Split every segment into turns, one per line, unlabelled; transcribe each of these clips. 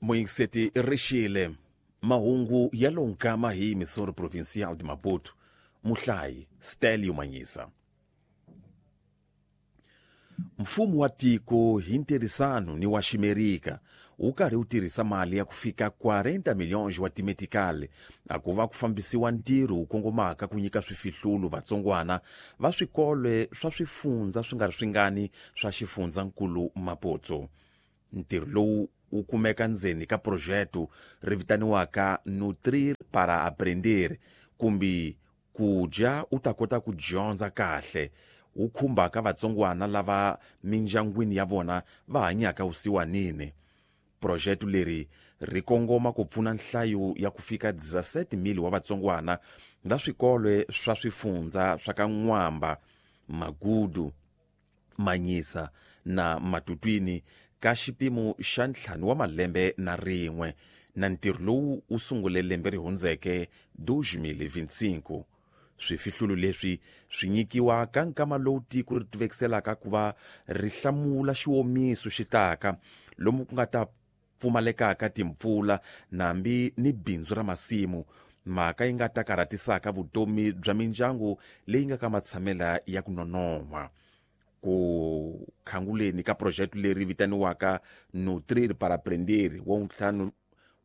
Moingiseti rixile mahungu ya lonkama hi Missouri Provincial de Maputo. Muhlayi Stelio Manyisa. Mfumo wa tiko hi ntirhisano ni wa Ximerika wu karhi wu tirhisa mali ya ku fika 40 milhões wa timetikali a ku va ku fambisiwa ntirho wu kongomaka ku nyika swifihlulu vatsongwana va swikolo swa swifundza swi nga ri swingani swa xifundzankulu Maputo. Ntirho lowu wu kumeka ndzeni ka projeto ri vitaniwaka Nutrir para Aprender, kumbe ku dya u ta kota ku dyondza kahle, wu khumbaka vatsongwana lava mindyangwini ya vona va hanyaka vusiwanini. Projeto leri ri kongoma ku pfuna nhlayo ya ku fika 17,000 wa vatsongwana va swikolo swa swifundza swa ka N'wamba, Magudu, Manyisa na Matutwini ka xipimo xa 5 wa malembe na rin'we, na ntirho lowu wu sungule lembe ri hundzeke 2025. Swifihlulu leswi swi nyikiwa ka nkama lowu tiko ri tivekiselaka ku va ri hlamula xiwomiso xi taka, lomu ku nga ta pfumalekaka timpfula nambi ni bindzu ra masimu, mhaka yi nga ta karhatisaka vutomi bya mindyangu leyi nga ka matshamela ya ku nonon'hwa. Ku khanguleni ka project leri vitaniwaka Nutrir para Aprender, wa ntlhanu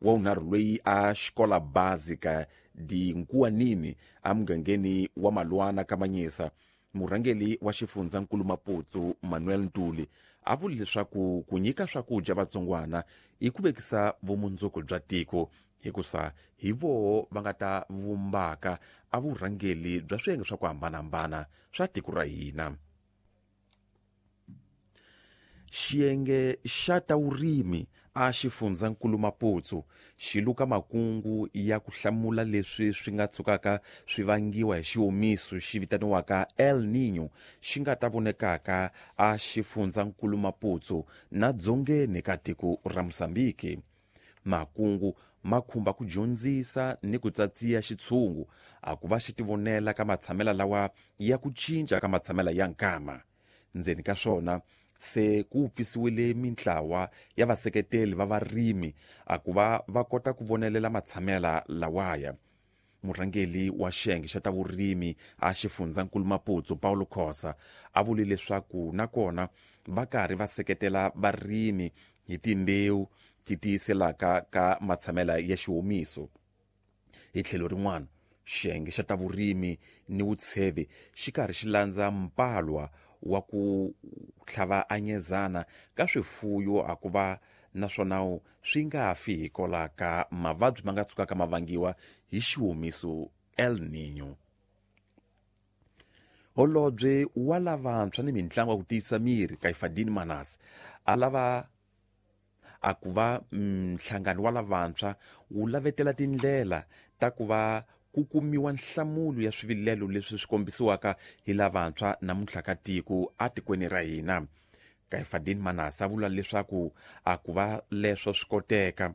wa unharhu loyi a xikola básica de Nkuwanini emugangeni wa Malwana ka Manyisa, murhangeri wa xifundzankulu Maputo Manuel Ntuli a vule leswaku ku nyika swakudya vatsongwana i ku vekisa vumundzuku bya tiko, hikusa hi voho va nga ta vumbaka a vurhangeri bya swiyenge swa ku hambanahambana swa tiko ra hina. Xiyenge xa ta vurimi a xifundzankulu Maputo xi luka makungu ya ku hlamula leswi swi nga tshukaka swi vangiwa hi xiwomiso xi vitaniwaka El Niño xi nga ta vonekaka a xifundzankulu Maputo na dzongeni ka tiko ra Mozambique. Makungu ma khumba ku dyondzisa ni ku tsatsiya xitshungu a ku va xi tivonela ka matshamela lawa ya ku cinca ka matshamela ya nkama. Ndzeni ka swona se ku pfisiwile mintlawa ya vaseketeli va varimi a ku va va kota ku vonelela matshamela lawaya. Murhangeri wa xiyenge xa ta vurimi a xifundzankulu Maputo Paulo Khosa a vule leswaku nakona va karhi va seketela varimi hi timbewu ti tiyiselaka ka matshamela ya xiwomiso. Hi tlhelo rin'wana, xiyenge xa ta vurimi ni vutshevi xi karhi xi landza mpalwa wa ku tlhava anyezana ka swifuyo a ku va naswona swi nga fi hikwalaho ka mavabyi ma nga tshukaka ma vangiwa hi xiwomiso El Niño. Holobye wa lavantshwa ni mintlangu ya ku tiyisa miri Kaifadini Manase a lava a ku va nhlangano wa lavantshwa wu lavetela tindlela ta ku va ku kumiwa nhlamulo ya swivilelo leswi swi kombisiwaka hi lavantshwa namuntlha ka tiko atikweni ra hina. Kaifadini Manase a vula leswaku a ku va leswo swi koteka,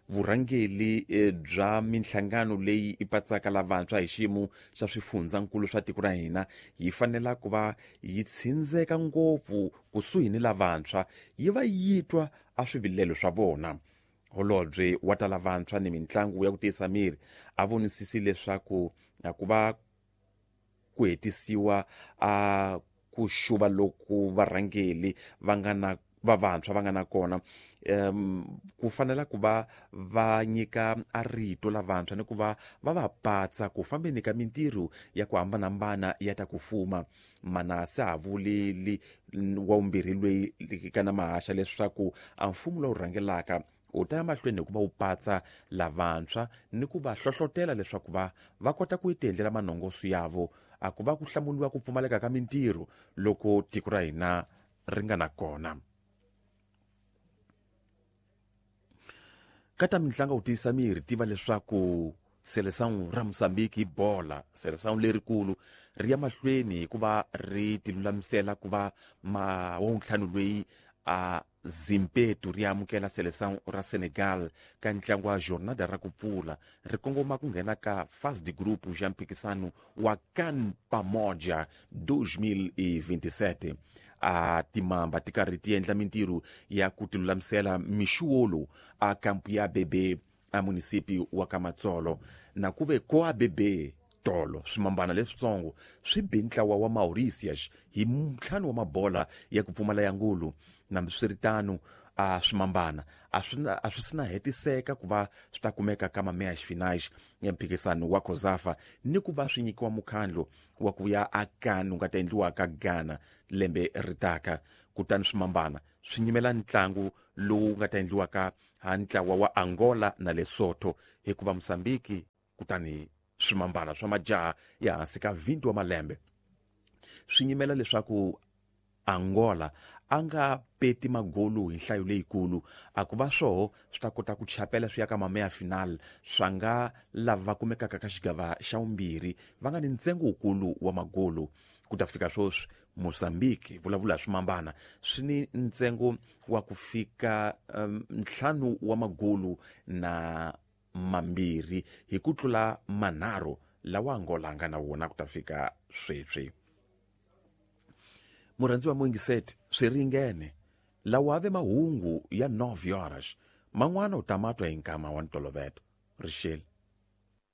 vurhangeri bya minhlangano leyi yi patsaka lavantshwa hi xiyimo xa swifundzankulu swa tiko ra hina yi fanela ku va yi tshindzeka ngopfu kusuhi ni lavantshwa, yi va yi twa a swivilelo swa vona. Holobye wa ta lavantshwa ni mintlangu ya ku tiyisa miri a vonisisi leswaku ku va ku hetisiwa a ku xuva loku varhangeri va nga na va vantshwa va nga na kona, ku fanela ku va va nyika a rito lavantshwa ni ku va va va patsa ku fambeni ka mintirho ya ku hambanahambana ya ta ku fuma. Manase a vuleli wa vumbirhi loyi kana mahaxa leswaku a mfumo lowu rhangelaka u ta ya mahlweni hi ku va wu patsa lavantshwa ni ku va hlohlotela leswaku va va kota ku tiendlela manongoso yavo a ku va ku hlamuriwa ku pfumaleka ka mintirho loko tiko ra hina ri nga na kona. Ka ta mintlangu ku tiyisa miri, tiva leswaku Seleção ra Mozambique hi bola, Seleção lerikulu ri ya mahlweni hikuva ri tilulamisela ku va ma wa ntlhanu loyi a Zimpetu ri amukela Seleção ra Senegal ka ntlangu wa jornada ra ku pfula ri kongoma ku nghena ka fase de grupo ya mphikisano wa CAN Pamoja 2027. A timamba ti karhi ti endla mintirho ya ku tilulamisela mixuwo lowu a kampu ya Bebe a munisipi wa Kamatsolo. Na ku ve ko a Bebe tolo, swimambana leswitsongo swi be ntlawa wa Mauritius hi ntlhanu wa mabola ya ku pfumala ya ngulu. Nambiswiritano, a swimambana a swi sina hetiseka ku va swi ta kumeka ka mameyas finais ya mphikisano wa COSAFA ni ku va swi nyikiwa mukhandlo wa ku ya akani wu nga ta endliwa ka Ghana lembe ri taka. Kutani swimambana swi nyimela ntlangu lowu nga ta endliwaka ha ntlawa wa Angola na Lesotho, hikuva Mosambiki kutani swimambana swa majaha ya hansi ka 20 wa malembe swi nyimela leswaku Angola a nga peti magolu hi nhlayo leyikulu, a ku va swoho swi ta kota ku chapela swi ya ka mameya final swa nga lava va kumekaka ka xigava xa vumbirhi va nga ni ntsengo wukulu wa magolu. Ku ta fika sweswi Mozambique, vulavula swimambana, swi ni ntsengo wa ku fika 5 wa magolu na 2 hi ku tlula 3 lawa Angola nga na wona ku ta fika sweswi. Murhandziwa muingiseti, swi ringene lawa ave mahungu ya 9 horas man'wana u ta matwa hi nkama wa ntoloveto. Rixele.